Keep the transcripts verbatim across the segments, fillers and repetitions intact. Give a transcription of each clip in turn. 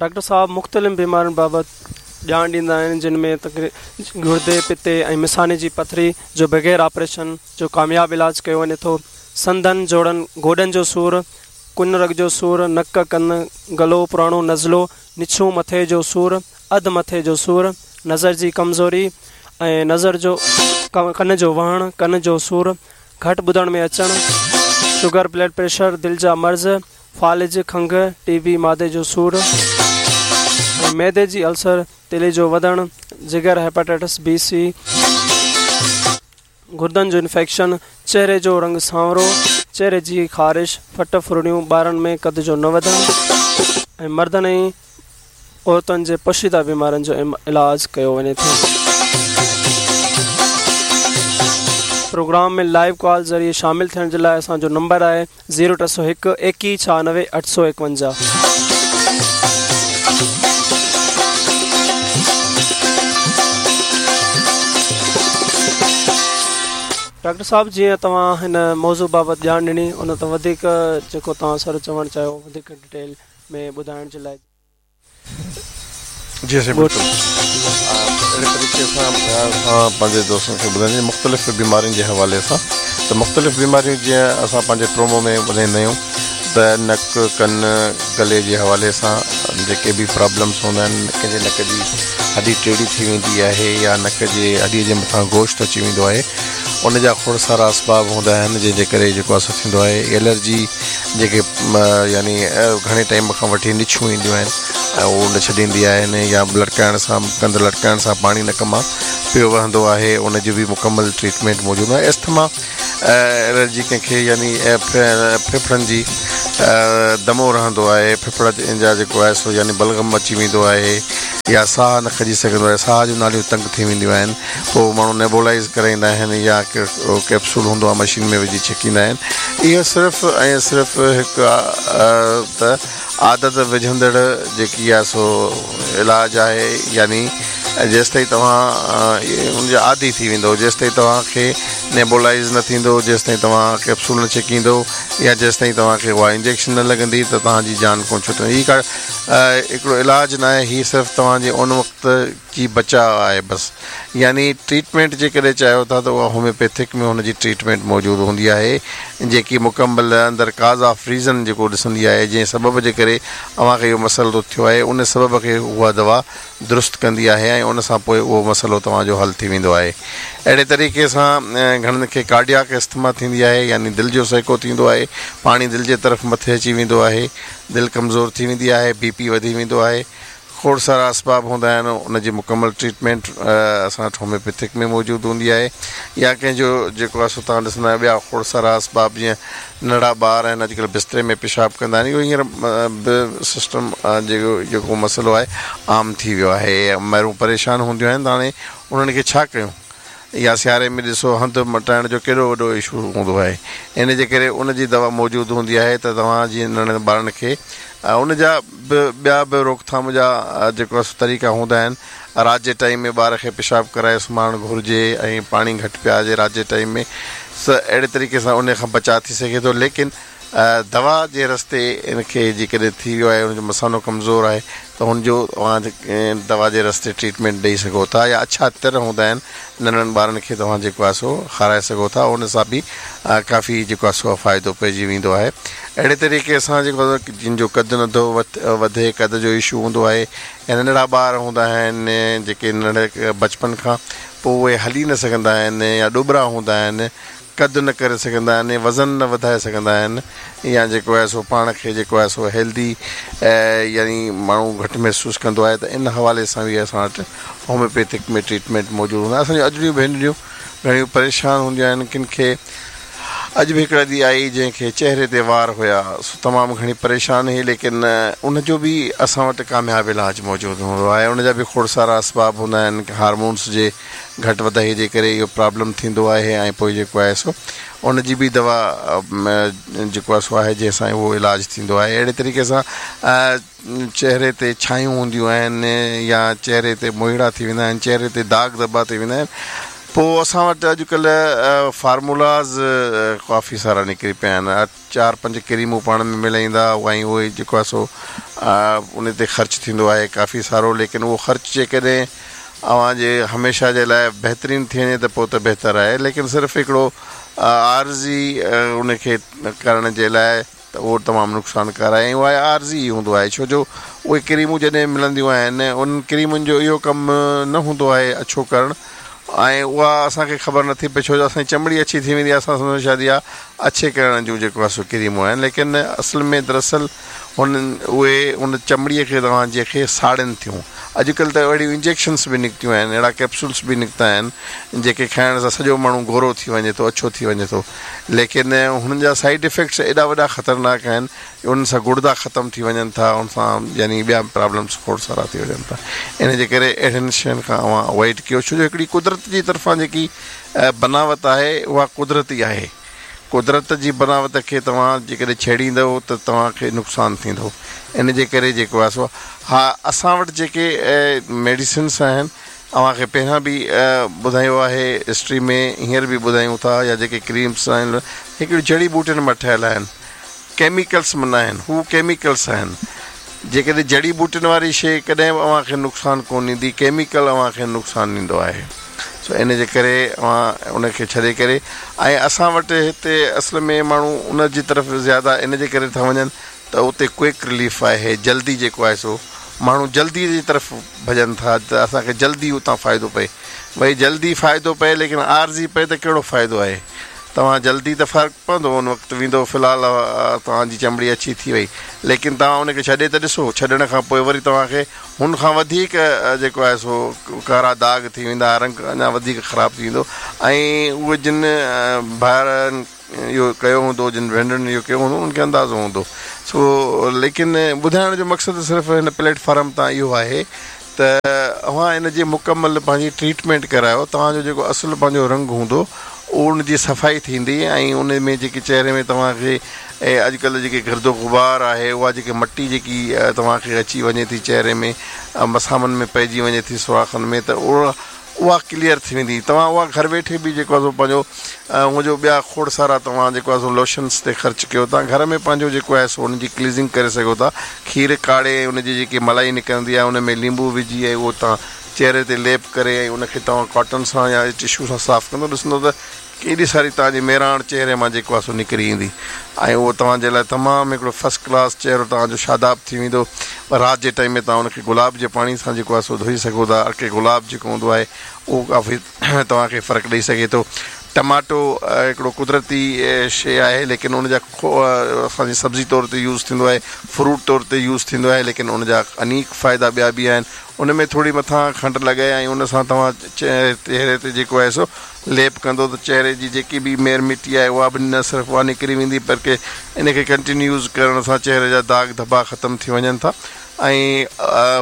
Doctor صاحب مختلف بيمارين بابت ڄاڻ ڏيندا آهن، جن ۾ گردي، پتي ۽ مثاني جي پٿري جو بغير آپريشن جو ڪامياب علاج ڪيو وڃي ٿو. سنڌن، جوڙن، گوڏن جو سور، ڪن رڳ جو سور، نڪ، ڪن، گلو، پراڻو نزلو، نڇون، مٿي جو سور، اڌ مٿي جو سور، نظر جي ڪمزوري ۽ نظر جو ڪن جو وهڻ، ڪن جو سور، گهٽ ٻڌڻ ۾ اچڻ، شگر، بلڊ پريشر، دل جا مرض، فالج، کنگهه، ٽي بي، معدي جو سور ۽ معدي جي السر، تيلي جو وڌڻ، جگر، هيپاٽائٽس بي، سي، گردن جو انفيڪشن، چهري جو رنگ سانورو، چهري جي خارش، ڦٽ ڦرڙيون، ٻارن ۾ قد جو نه وڌڻ ۽ مردن ۽ عورتن جي پوشيده بيمارين جو علاج ڪيو وڃي ٿو. پروگرام ۾ لائيو ڪال ذريعي شامل ٿيڻ جي لاء اسان جو نمبر آهي زيرو ٽي سؤ هڪ ايڪيهه ڇهانوي اٺ سؤ ايڪونجاهه. ڊاڪٽر صاحب جيئن توهان هن موضوع بابت ڄاڻ ڏني ان تي وڌيڪ جيڪو توهان سر چوڻ چاهيو وڌيڪ ڊيٽيل ۾ ٻڌائڻ جي لاء. جي سائين بلڪل اهڙي طريقي سان اسان پنهنجي دوستن کي ٻڌائينداسين مختلف بيمارين جي حوالي سان ته مختلف بيماريون جيئن اسان پنهنجي پرومو ۾ ٻڌائيندا آهيون ته نڪ، ڪن، گلي جي حوالي سان جيڪي به پرابلمس هوندا آهن، ڪنهن جي نڪ جي هڏي ٽيڙي ٿي ويندي آهي يا نڪ جي هڏي جي مٿان گوشت اچي ويندو آهي، ان جا کوڙ سارا اسباب هوندا آهن جنهن جي ڪري جيڪو آهي سو ٿيندو آهي. الرجي جيڪي يعني گهڻي ٽائيم کان وٺي نڇون اينديون آهن ۽ اهو نه ڇڏيندي آهن يا لٽڪائڻ سان ڪنڌ لٽڪائڻ سان پاڻي نڪ مان پيو وهندو آهي، ان جي به مڪمل ٽريٽمينٽ موجود آهي. اسٿما الرجي ڪنهن کي يعني ڦڦڙن جي دمو رهندو آهي، ڦڦڙ جا جيڪو آهي سو يعني بلغم اچي ويندو آهي يا ساهه نه کڄي سگهندو آهي، ساهه جون ناليون تنگ ٿي وينديون آهن، پوء ماڻهو نيبولائيز ڪرائيندا آهن يا ڪيپسول هوندو آهي مشين ۾ وجهي ڇڪيندا آهن. اهو صرف ۽ صرف هڪ ته عادت وجهندڙ جيڪي آهي سو علاج آهي، يعني جيستائين توهان ان جا عادي ٿي ويندو، جيستائين توهان کي نيبولائيز نه ٿيندو، جيستائين توهان ڪيپسول نه ڇڪيندو يا جيستائين توهان کي اها انجيڪشن نه لڳندي ته توهان جي جان ڪونه ڇٽندي. هي ڪا هڪڙو علاج نه آهي، هي صرف توهان جي ان وقت جي بچاء آهي بس. يعني ٽريٽمينٽ جيڪڏهن چاهيو ٿا ته اها هوميوپيٿڪ ۾ هن جي ٽريٽمينٽ موجود هوندي آهي، جيڪي مڪمل اندر ڪاز آف ريزن جيڪو ڏسندي آهي، جنهن سبب جي ڪري اوهان کي اهو مسئلو ٿيو آهي ان سبب کي اها دوا درست ڪندي آهي ۽ ان سان پوء اهو مسئلو توهان جو حل ٿي ويندو آهي. اهڙي طريقي سان گهڻن کي ڪارڊياڪ اسٿما ٿيندي آهي، يعني دل جو سهڪو ٿيندو آهي، پاڻي دل جي طرف مٿي اچي ويندو آهي، دل ڪمزور ٿي ويندي آهي، بي پي وڌي ويندو آهي، کوڙ سارا اسباب هوندا آهن، ان جي مڪمل ٽريٽمينٽ اسان وٽ هوميوپيٿڪ ۾ موجود هوندي آهي يا ڪنهن جو جيڪو آهي سو توهان ڏسندا آهيو ٻيا کوڙ سارا اسباب جيئن ننڍڙا ٻار آهن اڄڪلهه بستري ۾ پيشاب ڪندا آهن، اهو هينئر به سسٽم جيڪو جيڪو مسئلو آهي عام ٿي ويو آهي، مائرون پريشان هونديون آهن ته هاڻي انهن کي ڇا ڪيون يا سياري ۾ ڏسو هنڌ مٽائڻ جو ڪيڏو وڏو اشو هوندو آهي، ان جي ڪري ان جي دوا موجود هوندي آهي ته توهان جي ننڍڙن ٻارن کي ان جا به ٻيا به روڪٿام جا جيڪو آهي سو طريقا هوندا آهن. رات جي ٽائيم ۾ ٻار کي پيشاب ڪرائي سمهارڻ گهرجي ۽ پاڻي گهٽ پيارجي رات جي ٽائيم ۾ ته اهڙي طريقي سان ان کان بچاء ٿي سگهي ٿو. ليڪن دوا جي رستي ان کي جيڪڏهن ٿي ويو آهي ان جو مثانو ڪمزور آهي ته هن جو اوهان دوا جي رستي ٽريٽمينٽ ڏئي سگهو ٿا يا اڇا تر هوندا آهن ننڍڙن ٻارن کي توهان جيڪو آهي سو کارائي سگهو ٿا ان سان به ڪافي جيڪو آهي سو فائدو پئجي ويندو آهي. اهڙي طريقي سان جيڪو جن جو قد نٿو وڌي قد جو اشو هوندو آهي يا ننڍڙا ٻار هوندا آهن جيڪي ننڍڙي بچپن کان پوء اهي هلي نه سگهندا آهن يا ڏٻرا هوندا آهن قد نه ڪري سگهندا آهن وزن نه وڌائي سگهندا آهن يا جيڪو آهي سو پاڻ کي جيڪو آهي سو هيلدي يعني ماڻهو گهٽ محسوس ڪندو آهي ته ان حوالي سان به اسان وٽ هوميوپيٿڪ ۾ ٽريٽمينٽ موجود هوندا آهي. اسان جون اجڙيون ڀينريون گهڻيون پريشان هونديون آهن ڪن کي اڄ به هڪڙا ڏينهن آئي جنهن کي چهري تي وار هيا سو تمام گهڻي پريشان هئي ليڪن ان جو به اسان وٽ ڪامياب علاج موجود هوندو آهي ان جا به کوڙ سارا اسباب هوندا آهن هارمونس جي گهٽ وڌائي جي ڪري اهو پرابلم ٿيندو آهي ۽ پوء جيڪو آهي سو ان جي به دوا جيڪو آهي سو آهي جنهن سان اهو علاج ٿيندو آهي اهڙي طريقي سان چهري تي ڇايون هونديون آهن يا چهري تي موهيڙا ٿي ويندا آهن چهري تي داغ ڌٻا ٿي ويندا آهن پوءِ اسان وٽ اڄڪلهه فارمولاز ڪافي سارا نڪري پيا آهن. چار پنج ڪريمون پاڻ ۾ ملائيندا ۽ اهي جيڪو آهي سو ان تي خرچ ٿيندو آهي ڪافي سارو. ليڪن اهو خرچ جيڪڏهن اوهان جي هميشه جي لاءِ بهترين ٿي وڃي ته پوءِ ته بهتر آهي، ليڪن صرف هڪڙو عارضي ان کي ڪرڻ جي لاءِ ته اهو تمام نقصانڪار آهي ۽ اها عارضي ئي هوندو آهي. ڇو جو اهي ڪريمون جڏهن ملنديون آهن انهن ڪريمن جو اهو ڪم نه هوندو آهي اڇو ڪرڻ، ۽ اها اسان کي خبر نٿي پئي ڇو جو اسان جي چمڙي اڇي ٿي ويندي آهي، اسان سمجهون شايد اها اڇي ڪرڻ جون جيڪو آهي سو ڪريمون آهن، ليڪن اصل ۾ دراصل هنن اهي ان چمڙيءَ کي توهان جي کي ساڙن ٿيون. اڄڪلهه ته اهڙيون انجيڪشنس به نڪتيون آهن، اهڙا ڪيپسولس به نڪتا آهن جيڪي کائڻ سان سڄو ماڻهو گورو ٿي وڃي ٿو، اڇو ٿي وڃي ٿو. ليڪن هنن جا سائيڊ افيڪٽس ايڏا وڏا خطرناڪ آهن، انهن سان گڙدا ختم ٿي وڃن ٿا، ان سان يعني ٻيا پرابلمس کوڙ سارا ٿي وڃن ٿا. ان جي ڪري اهڙين شين کان اوهان اوائڊ ڪيو، ڇو جو هڪڙي قدرت جي طرفان جيڪي بناوت آهي اها قدرتي آهي. قدرت جي بناوت کي توهان جيڪڏهن ڇيڙيندؤ ته توهان کي نقصان ٿيندو. ان جي ڪري جيڪو آهي سو ها اسان وٽ جيڪي ميڊيسنس آهن اوهان کي پهريان به ٻڌايو آهي هسٽري ۾، هينئر به ٻڌايون ٿا، يا جيڪي ڪريمس آهن هڪڙيون جڙي ٻوٽين مان ٺهيل آهن، ڪيميڪلس ۾ نه آهن، هو ڪيميڪلس آهن. جيڪڏهن جڙي ٻوٽين واري شيءِ ڪڏهن به اوهان کي نقصان ڪونه ڏيندي، ڪيميڪل اوهان کي نقصان ڏيندو آهي. سو ان جي ڪري اوهان ان کي ڇڏي ڪري ۽ اسان وٽ هتي اصل ۾ ماڻهو ان جي طرف زياده ان جي ڪري ٿا وڃن ته اتي ڪوئڪ رليف آهي، جلدي جيڪو آهي سو ماڻهو جلدي جي طرف ڀڄن ٿا ته اسان کي جلدي اتان فائدو پئي. ڀئي جلدي فائدو پئي ليڪن عارضي پئي ته ڪهڙو فائدو آهي؟ توهان جلدي ته فرق پوندو ان وقت ويندو، في الحال توهان جي چمڙي اڇي ٿي وئي، ليڪن توهان ان کي ڇڏي ته ڏسو، ڇڏڻ کان پوءِ وري توهان کي هن کان وڌيڪ جيڪو آهي سو ڪارا داغ ٿي ويندا، رنگ اڃا وڌيڪ خراب ٿي ويندو. ۽ اهي جن ڀائرن اهو ڪيو هوندو، جن ڀينرن اهو ڪيو هوندو، انهن کي اندازو هوندو. سو ليڪن ٻڌائڻ جو مقصد صرف هن پليٽ فارم تان اهو آهي ته اوهان ان جي مڪمل پنهنجي ٽريٽمينٽ ڪرايو، توهان جو جيڪو اصل پنهنجو رنگ هوندو ان جي صفائي ٿيندي ۽ ان ۾ جيڪي چهري ۾ توهان کي اڄڪلهه جيڪي گرد غبار آهي، اها جيڪي مٽي جيڪي توهان کي اچي وڃي ٿي چهري ۾ مسامن ۾ پئجي وڃي ٿي سوراخن ۾ ته اها اها ڪليئر ٿي ويندي. توهان اها گهر ويٺي به جيڪو آهي سو پنهنجو هن جو ٻيا کوڙ سارا توهان جيڪو آهي سو لوشنس تي خرچ ڪيو ٿا، گهر ۾ پنهنجو جيڪو آهي سو ان جي ڪلينزنگ ڪري سگهو ٿا. کير ڪاڙهي ان جي جيڪي ملائي نڪرندي آهي ان ۾ ليمبو وجهي ۽ اهو توهان چهري تي ليپ ڪري ۽ ان کي توهان ڪاٽن سان يا ٽشو سان صاف ڪندو، ڏسندو ته ڪيڏي ساري توهان جي ميراڻ چهري مان جيڪو آهي سو نڪري ايندي ۽ اهو توهان جي لاءِ تمام هڪڙو فرسٽ ڪلاس چهرو توهان جو شاداب ٿي ويندو. رات جي ٽائيم ۾ توهان ان کي گلاب جي پاڻي سان جيڪو آهي سو ڌوئي سگهو ٿا. ارڪي گلاب جيڪو هوندو آهي اهو ڪافي توهان کي فرق ڏيئي سگهي ٿو. ٽماٽو هڪڙو قدرتي شيءِ آهي، ليڪن ان جا اسان جي سبزي طور تي يوز ٿيندو آهي، فروٽ طور تي يوز ٿيندو آهي، ليڪن ان جا انيڪ فائدا ٻيا به آهن. ان ۾ ٿوري مٿان کنڊ لڳائي ۽ ان سان توهان چهري تي جيڪو آهي سو ليپ ڪندو ته چهري جي جيڪي به مير مٽي آهي اها به نه صرف اها نڪري ويندي، بلڪه ان کي ڪنٽينيو يوز ڪرڻ سان چهري جا داغ ڌٻا ختم ٿي وڃن ٿا. ۽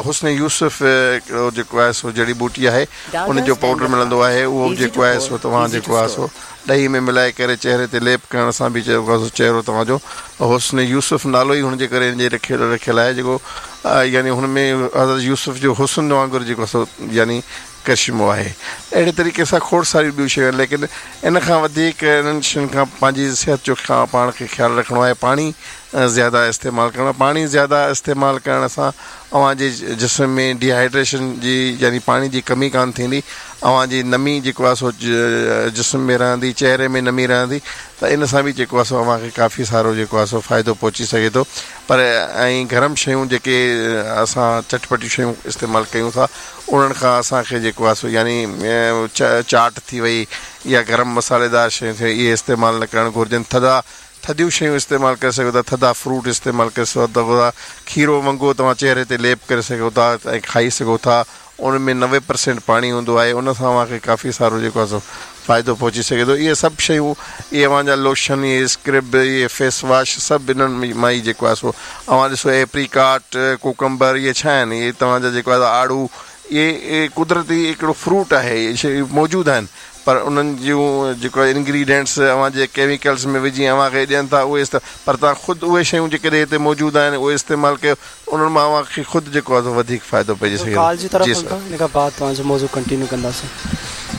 حسن يوسف هڪڙو جيڪو آهي سو جڙي ٻوٽي آهي، ان جو پائوڊر ملندو آهي، اهو جيڪو آهي سو توهان جيڪو آهي سو ڏهي ۾ ملائي ڪري چهري تي ليپ ڪرڻ سان به جيڪو آهي سو چهرو توهان جو حسن يوسف نالو ئي هن جي ڪري هن جي رکيل رکيل آهي، جيڪو يعني هن ۾ حضرت يوسف جو حسن وانگر جيڪو سو يعني ڪرشمو آهي. اهڙي طريقي سان کوڙ ساريون ٻيون شيون آهن، ليڪن ان کان وڌيڪ انهن شين کان پنهنجي صحت جو پاڻ کي خيال رکڻو آهي. پاڻي زياده استعمال ڪرڻو، پاڻي زياده استعمال ڪرڻ سان اوهان جي جسم ۾ ڊيهائيڊريشن جي يعني پاڻي جي ڪمي ڪانه ٿيندي، اوهان جي نمي جيڪو آهي سو جسم ۾ رهندي، چهري ۾ نمي رهندي، ته ان سان به جيڪو آهي سو اوهان کي ڪافي سارو جيڪو آهي سو فائدو پهچي سگهي ٿو. پر ۽ گرم شيون جيڪي اسان چٽپٽيون شيون استعمال ڪيون ٿا انهن کان اسان کي جيڪو آهي سو يعني چاٽ ٿي وئي يا گرم مصالحيدار شيون ٿي وئي، اهي استعمال نه ڪرڻ گهرجن. ٿڌا ٿڌيون شيون استعمال ڪري سگهو ٿا، ٿڌا فروٽ استعمال ڪري سگهو ٿا، کيرو ونگو توهان چهري تي ليپ ڪري سگهو ٿا ۽ کائي سگهو ٿا. ان ۾ نوي پرسينٽ پاڻي هوندو آهي، ان سان اوهان کي ڪافي سارو جيڪو آهي سو فائدو پهچي سگهي ٿو. اهي سڀ شيون، اهي اوهان جا لوشن، اهي اسڪرب، اهي فيس واش، سڀ انهن مان ئي جيڪو آهي سو اوهان ڏسو ايپريڪاٽ، ڪوڪمبر، اهي ڇا آهن؟ اهي توهان جا جيڪو آهي آڙو، اهي قدرتي هڪڙو فروٽ آهي، اهي شيون موجود آهن، پر انهن جون جيڪو انگريڊينٽس اوهان جي ڪيميڪلس ۾ وجهي اوهان کي ڏين ٿا اهي، پر توهان خود اهي شيون جيڪڏهن هتي موجود آهن اهي استعمال ڪيو، انهن مان اوهان کي خود جيڪو آهي وڌيڪ فائدو پئجي سگهي ٿو. ڪال جي طرف ان کان بعد توهان جو موضوع ڪنٽينيو ڪنداسين.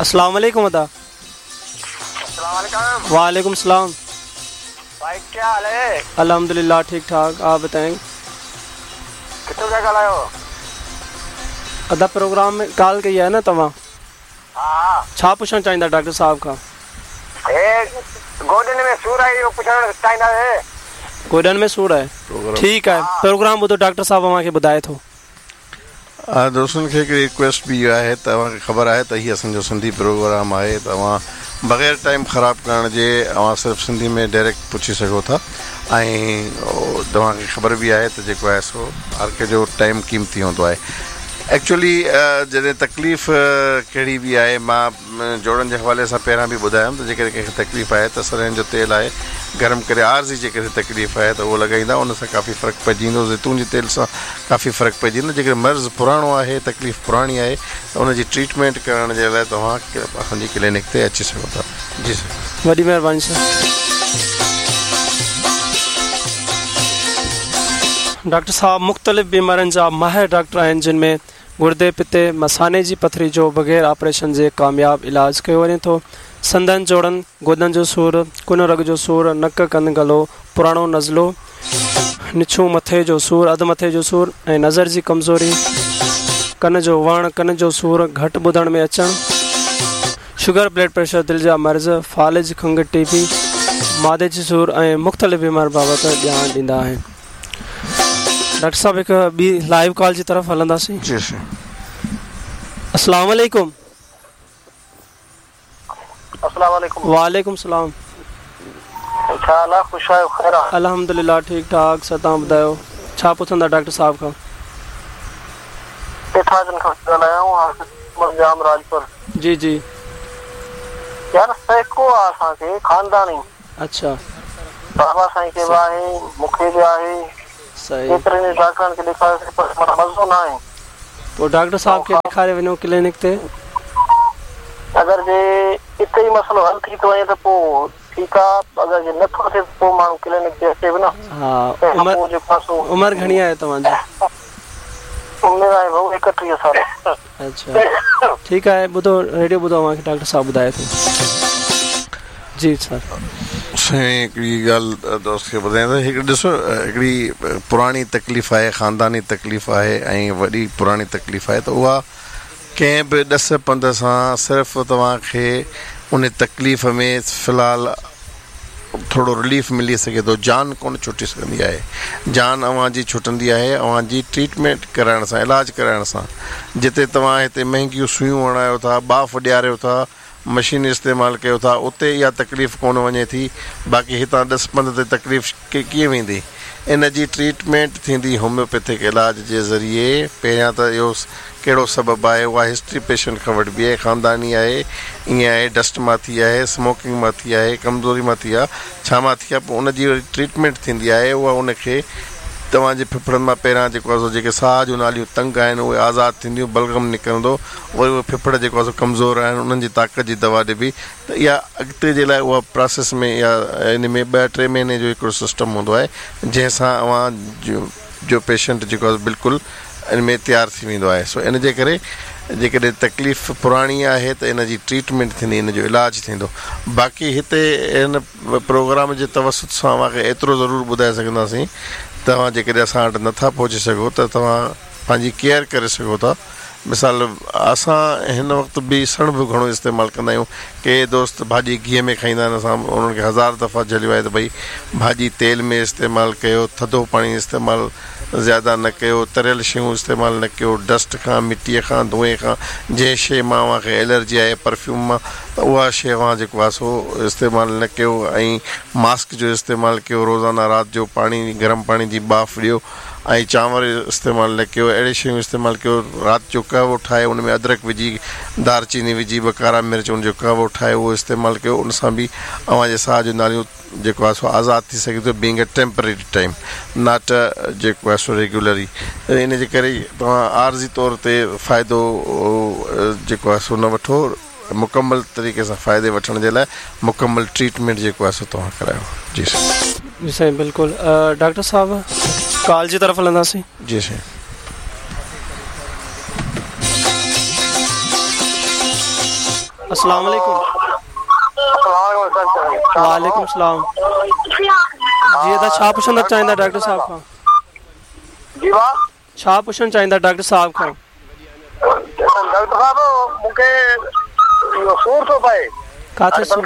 अस्सलाम वालेकुम अदा। वालेकुम सलाम। भाई क्या हाल है? अल्हम्दुलिल्लाह ठीक ठाक, आप बताएं। किथों पिया ॻाल्हायो? अदा प्रोग्राम में कॉल कई आहे न तव्हां? हा। छा पुछणु चाहींदा डॉक्टर साहब खां? हे गोॾनि में सूर आहे, इहो पुछणु चाहींदासीं। गोॾनि में सूर आहे, ठीकु आहे। प्रोग्राम ॿुधो, डॉक्टर साहब अव्हां खे ॿुधाए थो। दोस्तनि खे हिकिड़ी रिक्वेस्ट बि इहा आहे, तव्हांखे ख़बर आहे त हीउ असांजो सिंधी प्रोग्राम आहे, तव्हां बग़ैर टाइम ख़राबु करण जे अव्हां सिर्फ़ु सिंधी में डायरेक्ट पुछी सघो था। ऐं तव्हांखे ख़बर बि आहे त जेको आहे सो हर कंहिंजो टाइम क़ीमती हूंदो आहे। एक्चुअली जॾहिं तकलीफ़ कहिड़ी बि आहे, मां जोड़नि जे हवाले सां पहिरियां बि ॿुधायुमि त जेकॾहिं कंहिंखे तकलीफ़ आहे त सरहनि जो तेल आहे गरम करे आर्ज़ी जेकॾहिं तकलीफ़ आहे त उहो लॻाईंदा, उन सां काफ़ी फ़र्क़ु पइजी वेंदो। ज़ैतून जे तेल सां काफ़ी फ़र्क़ु पइजी वेंदो। जेकॾहिं मर्ज़ पुराणो आहे, तकलीफ़ पुराणी आहे त उनजी ट्रीटमेंट करण जे लाइ तव्हां असांजी क्लिनिक ते अची सघो था। जी सर, वॾी महिरबानी सर। डॉक्टर साहब मुख़्तलिफ़ बीमारियुनि जा माहिर डॉक्टर आहिनि, जिन में गुर्दे, पित्ते, मसाने जी पथरी जो बग़ैर ऑपरेशन जे कामयाब इलाज कयो वञे थो। संदन जोड़नि, गोॾनि जो सूर, कुन रग जो सूर, नक, कन, गलो, पुराणो नज़लो, निछू, मथे जो सूर, अधु मथे जो सूर ऐं नज़र जी कमज़ोरी, कन जो वण, कन जो सूर, घटि ॿुधण में अचणु, शुगर, ब्लड प्रेशर, दिलि जा मर्ज़, फ़ालिज, खंघ, टीबी, मादे जी सूर ऐं मुख़्तलिफ़ बीमारी बाबति ॼाण ॾींदा आहिनि। डॉक्टर साहब हिकु ॿी लाइव कॉल जी तरफ़ हलंदासीं। जी सर। अस्सलाम वालेकुम। अस्सलाम वालेकुम। वालेकुम सलाम। छा हाल आहे? ख़ुशि आहियो? ख़ैर आहे? अल्हम्दुलिल्लाह ठीक ठाक। सर तव्हां ॿुधायो, छा पुछंदा डॉक्टर साहब खां? पेठाजन खां ॻाल्हायां, जाम राजपुर। जी जी। यार सैको आहे असांखे ख़ानदानी। अच्छा। बाबा साईं खे बि आहे, मूंखे बि आहे। सही। केतिरनि डॉक्टरनि खे ॾेखारियोसीं पर मज़ो न आहे। पोइ डॉक्टर साहब खे ॾेखारे वञो क्लिनिक ते। अगरि जे हिते ई मसइलो हल थी थो वञे त पोइ ठीकु आहे, अगरि जे नथो थिए त पोइ माण्हू क्लिनिक ते अचे बि न। हा। उमिरि उमिरि घणी आहे तव्हांजी? उमिरि आहे भाऊ एकटीह साल। अच्छा ठीकु आहे। ॿुधो रेडियो ॿुधो, अव्हांखे डॉक्टर साहब ॿुधाए थो। जी सर। साईं हिकिड़ी ॻाल्हि दोस्त खे ॿुधायां त हिकिड़ी ॾिसो, हिकिड़ी पुराणी तकलीफ़ आहे, ख़ानदानी तकलीफ़ आहे ऐं वॾी पुराणी तकलीफ़ आहे त उहा कंहिं बि ॾस पंध सां सिर्फ़ु तव्हांखे उन तकलीफ़ में फ़िलहालु थोरो रिलीफ मिली सघे थो। जान कोन छुटी सघंदी आहे, जान अव्हांजी छुटंदी आहे अव्हांजी ट्रीटमेंट कराइण सां, इलाज कराइण सां। जिते तव्हां हिते महंगियूं सुइयूं हणायो था, ॿाफ़ ॾियारियो था, मशीन इस्तेमालु कयो था, उते इहा तकलीफ़ कोन वञे थी। बाक़ी हितां ॾस पंध ते तकलीफ़ कीअं वेंदी? इन जी ट्रीटमेंट थींदी होम्योपैथिक इलाज जे ज़रिए। पहिरियां त इहो कहिड़ो सबबु आहे, उहा हिस्ट्री पेशेंट खां वठिबी आहे, ख़ानदानी आहे, ईअं आहे, डस्ट मां थी आहे, स्मोकिंग मां थी आहे, कमज़ोरी मां थी आहे, छा मां थी आहे, पोइ उनजी वरी ट्रीटमेंट थींदी आहे। उहा उनखे तव्हांजे फेफड़नि मां पहिरियां जेको आहे सो जेके साह जूं नालियूं तंग आहिनि उहे आज़ादु थींदियूं, बलगम निकिरंदो, वरी उहे फेफड़ जेको आहे सो कमज़ोर आहिनि उन्हनि जी ताक़त जी दवा ॾिबी। त इहा अॻिते जे लाइ उहा प्रोसेस में या इन में ॿ टे महीने जो हिकिड़ो सिस्टम हूंदो आहे, जंहिंसां अव्हां जो जो पेशेंट जेको आहे बिल्कुलु इन में तयारु थी वेंदो आहे। सो इन जे करे जेकॾहिं तकलीफ़ पुराणी आहे त इन जी ट्रीटमेंट थींदी, इन जो इलाज थींदो। बाक़ी हिते हिन प्रोग्राम जे तवसुत सां अव्हांखे एतिरो ज़रूरु ॿुधाए सघंदासीं, तव्हां जेकॾहिं असां वटि नथा पहुची सघो त तव्हां पंहिंजी केयर करे सघो था। मिसाल असां हिन वक़्तु बि सणबु घणो इस्तेमालु कंदा आहियूं। के दोस्त भाॼी घीअ में खाईंदा आहिनि, असां उन्हनि खे हज़ार दफ़ा झलियो आहे त भई भाॼी तेल में इस्तेमालु कयो, थधो पाणी इस्तेमालु ज़्यादा न कयो, तरियल शयूं इस्तेमालु न कयो, डस्ट खां, मिटीअ खां, धुएं खां, जंहिं शइ मां अव्हांखे एलर्जी आहे परफ्यूम मां, त उहा शइ अव्हां जेको आहे सो इस्तेमालु न कयो। ऐं मास्क जो इस्तेमालु कयो, रोज़ाना राति जो पाणी गरम पाणी जी ॿाफ़ ॾियो ऐं चांवर इस्तेमालु न कयो, अहिड़ी शयूं इस्तेमालु कयो। राति जो कहवो ठाहे उन में अदरक विझी, दालचीनी विझी, ॿ कारा मिर्च उनजो कहवो ठाहे उहो इस्तेमालु कयो, उन सां बि अव्हांजे साह जूं नालियूं जेको आहे सो आज़ादु थी सघे थो, being a temporary time not जेको आहे सो रेगुलरी। इन जे करे तव्हां आर्ज़ी तौर ते फ़ाइदो जेको आहे सो न वठो, मुकमल तरीक़े सां फ़ाइदे वठण जे लाइ मुकमल ट्रीटमेंट जेको आहे सो तव्हां करायो। जी सर। जी साईं बिल्कुलु। डॉक्टर साहब कॉल जी तरफ़ हलंदासीं। जी साईं। अस्सलाम वालेकुम। वालेकुम सलाम। जी अदा छा पुछणु चाहींदा डॉक्टर साहब खां? जी वाह, छा पुछणु चाहींदा डॉक्टर साहब खां? डॉक्टर साहब मूंखे इहो सूर थो पए। काथे सूर?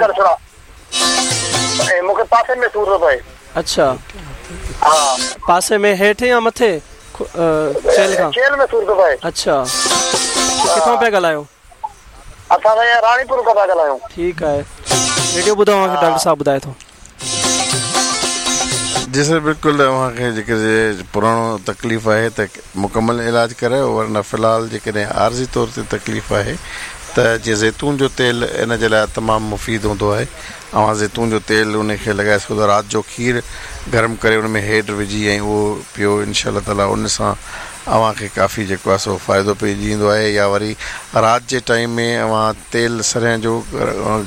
मूंखे पासे में सूर थो पए। अच्छा, हाँ, पासे में हेठि या मथे? चेल खां? चेल में सूर थो पए। अच्छा, किथां पिया ॻाल्हायो? असां भैया रानीपुर खां पिया ॻाल्हायूं। ठीकु आहे, रेडियो ॿुधो, अव्हांखे डॉक्टर साहब ॿुधाए थो। जी सर, बिल्कुलु अव्हांखे जेके पुराणो तकलीफ़ आहे त मुकमल इलाज करायो, वरना फ़िलहाल जेकॾहिं आर्ज़ी तौर ते तकलीफ़ आहे त जीअं ज़ैतून जो तेल इन जे लाइ तमामु मुफ़ीद हूंदो आहे। अव्हां ज़ैतून जो तेल उनखे लॻाए सघो था। राति जो खीर गरम करे उन में हेड विझी ऐं उहो पियो, इनशा ताला उन सां अव्हांखे काफ़ी जेको आहे सो फ़ाइदो पइजी ईंदो आहे। या वरी राति जे टाइम में अव्हां तेल सरेआं जो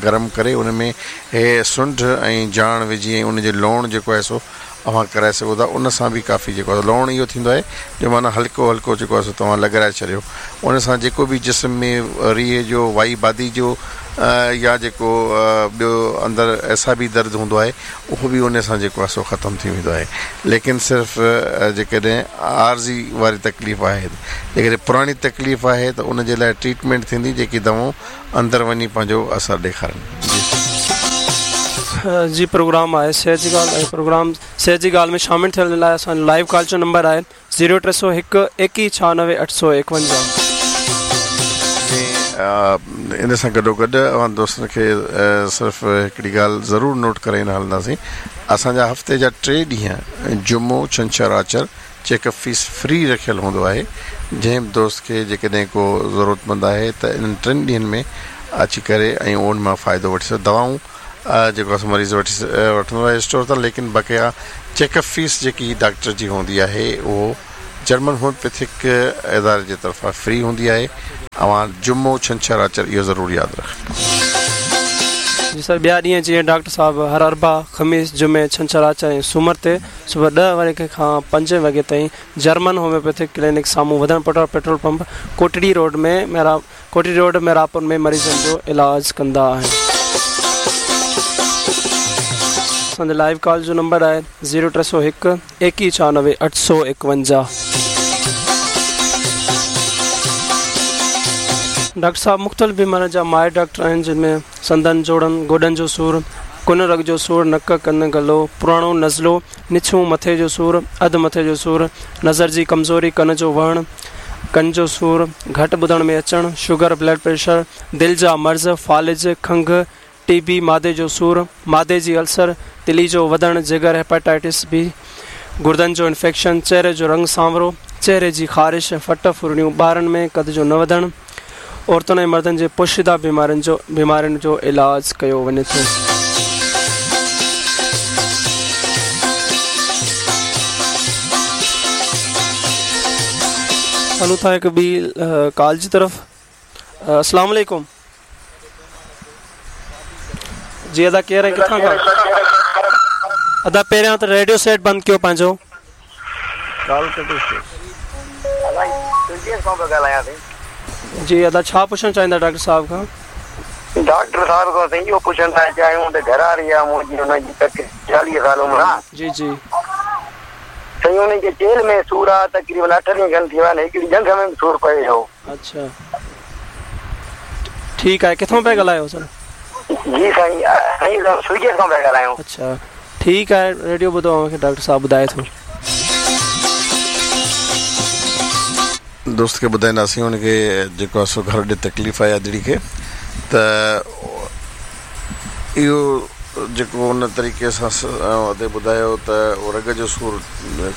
गरम करे उन में हे सुंढ ऐं जाण विझी ऐं उनजो लोण जेको आहे सो अव्हां कराए सघो था। उन सां बि काफ़ी जेको आहे लोण इहो थींदो आहे जो माना हल्को हल्को जेको आहे सो तव्हां लॻाए छॾियो, उन सां जेको बि जिस्म में रीह जो वाई बादी जो या जेको ॿियो अंदरि ऐसा बि दर्द हूंदो आहे उहो बि उन सां जेको आहे सो ख़तमु थी वेंदो आहे। लेकिन सिर्फ़ु जेकॾहिं आर्ज़ी वारी तकलीफ़ आहे, जेकॾहिं पुराणी तकलीफ़ आहे त उन जे लाइ ट्रीटमेंट थींदी, जेकी दवाऊं अंदरि वञी पंहिंजो असरु ॾेखारनि। जी प्रोग्राम आहे सेहत जी ॻाल्हि, ऐं प्रोग्राम सेहत जी ॻाल्हि में शामिल थियण लाइ असांजो लाइव कॉल जो नंबर आहे ज़ीरो टे सौ हिकु एकवीह छहानवे अठ सौ एकवंजाह। इन सां गॾोगॾु अव्हां दोस्तनि खे सिर्फ़ु हिकिड़ी ॻाल्हि ज़रूरु नोट कराईंदा हलंदासीं, असांजा हफ़्ते जा टे ॾींहं जुमो, छंछर, आचर चेकअप फीस फ्री रखियल हूंदो आहे। जंहिं बि दोस्त खे जेकॾहिं को ज़रूरतमंद आहे त इन्हनि टिनि ॾींहंनि में अची करे ऐं उन मां फ़ाइदो वठी सघे। दवाऊं जेको आहे मरीज़ वठी वठंदो आहे स्टोर तां, लेकिन बक़ाया चेकअप फीस जेकी डॉक्टर जी हूंदी आहे उहो जर्मन होम्योपैथिक इदारे जे तरफ़ां फ्री हूंदी आहे। अव्हां जुमो, छंछर, आचर इहो ज़रूरु यादि रखो। जी सर, ॿिया ॾींहं जीअं डॉक्टर साहब हर अरबा, ख़मीस, जुमे, छंछर, आचर ऐं सूमर ते सुबुह ॾह वॻे खां पंज वॻे ताईं जर्मन होम्योपैथिक क्लिनिक साम्हूं वधण पटो पेट्रोल पंप कोटड़ी रोड में मेरा कोटड़ी रोड मेरापुर में मरीज़नि जो इलाज कंदा आहिनि। असांजो लाइव कॉल जो नंबर आहे ज़ीरो टे सौ हिकु एकवीह छहानवे अठ सौ एकवंजाह। डॉक्टर साहब मुख़्तलिफ़ बीमारियुनि जा माहिर डॉक्टर आहिनि, जिन में संदन, जोड़नि, गोॾनि जो सूर, कुन रग जो सूर, नक, कन, गलो, पुराणो नज़लो, निछूं, मथे जो सूर, अधु मथे जो सूर, नज़र जी कमज़ोरी, कन जो वहण, कन जो सूर, घटि ॿुधण में अचणु, शुगर, ब्लड प्रेशर, दिलि जा मर्ज़, फ़ालिज, खंघ, टीबी, मादे जो सूर, मादे जी अल्सर, तिली जो वधणु, जिगर, हेपाटाइटिस बी, गुर्दनि जो इन्फेक्शन, चेहरे जो रंग सांवरो, चेहरे जी ख़ारिश, फट फुरणियूं, ॿारनि में कद जो न वधणु, औरतुनि ऐं मर्दनि जे पोशीदा बीमारियुनि जो बीमारियुनि जो इलाज कयो वञे थो। हलूं था हिकु ॿी कॉल जी तरफ़। अस्सलाम वालेकुम। जी अदा केरु ऐं किथां खां? अदा पहिरियां त रेडियो सेट बंदि कयो पंहिंजो। जी अदा छा पुछणु चाहींदा डॉक्टर साहब खां? डॉक्टर साहब खां साईं इहो पुछणु था चाहियूं त घर वारी आहे मुंहिंजी, हुनजी चालीह साल उमिरि आहे। जी जी साईं, हुनखे चेल में सूर आहे, तक़रीबन अठ ॾींहं खनि थी विया आहिनि, हिकिड़ी ॼंघ में बि सूर पए थो। अच्छा ठीकु आहे, किथां पिया ॻाल्हायो सर? जी साईं, साईं सुईजे खां पिया ॻाल्हायूं। अच्छा ठीकु आहे, रेडियो ॿुधो, अव्हांखे डॉक्टर साहब ॿुधाए थो। दोस्त खे ॿुधाईंदासीं हुनखे जेको आहे सो घर ॾे तकलीफ़ आहे अदड़ी खे, त इहो जेको उन तरीक़े सां अदे ॿुधायो त उहो रग जो सूर,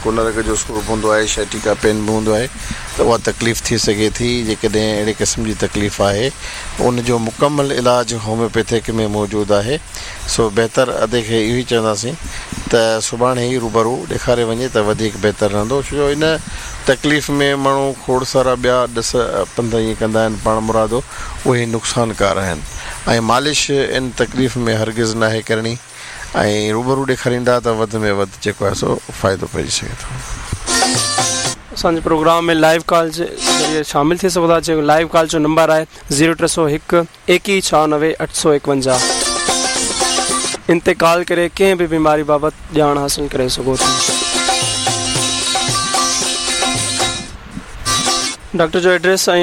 कोन रग जो सूर बि हूंदो आहे, शैटिका पेन बि हूंदो आहे, त उहा तकलीफ़ थी सघे थी। जेकॾहिं अहिड़े क़िस्म जी तकलीफ़ आहे उन जो मुकमल इलाज होम्योपैथिक में मौजूदु आहे। सो बहितर अदे खे इहो ई चवंदासीं त सुभाणे ई रूबरू ॾेखारे वञे त वधीक बहितर रहंदो, छो जो इन तकलीफ़ में माण्हू खोड़ सारा ॿिया ॾस पंध ईअं कंदा आहिनि पाण मुरादो, उहे नुक़सानकार आहिनि ऐं मालिश इन तकलीफ़ में हरगिज़ नाहे करणी ऐं रूबरू ॾेखारींदा त वधि में वधि जेको आहे सो फ़ाइदो पइजी सघे थो। اسان جي پروگرام ۾ لائيو ڪال جي ذريعي شامل ٿي سگهو ٿا، جيڪو لائيو ڪال جو نمبر آهي زيرو ٽي سؤ هڪ ايڪيهه ڇهانوي اٺ سؤ ايڪونجاهه. ان تي ڪال ڪري ڪنهن به بيماري بابت ڄاڻ حاصل ڪري سگهو ٿا. ڊاڪٽر جو ايڊريس ۽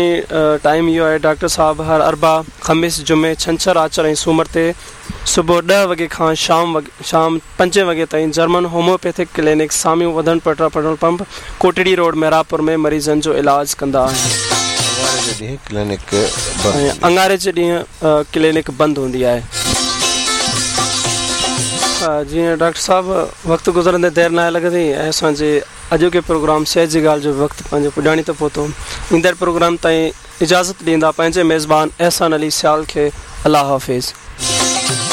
ٽائيم اهو آهي، ڊاڪٽر صاحب هر اربع، خميس، جمعي، ڇنڇر، آچر ۽ سومر تي صبح ڏهه وڳي کان شام شام پنجين وڳي تائين جرمن هوميوپيٿڪ ڪلينڪ سامهون وڌڻ Petra petrol pump Kotri road Mehrabpur ۾ مريضن جو علاج ڪندا آهن. اڱاري جي ڏينهن ڪلينڪ بند ۽ اڱاري جي ڏينهن ڪلينڪ بند هوندي آهي. جيئن ڊاڪٽر صاحب وقت گذرندي دير ناهي لڳندي ۽ اسان جي اڄوڪي پروگرام صحت جي ڳالهه جو وقت پنهنجي پڄاڻي تي پهتو. ايندڙ پروگرام تائين اجازت ڏيندا پنهنجي ميزبان احسان علي سيال کي. الله حافظ.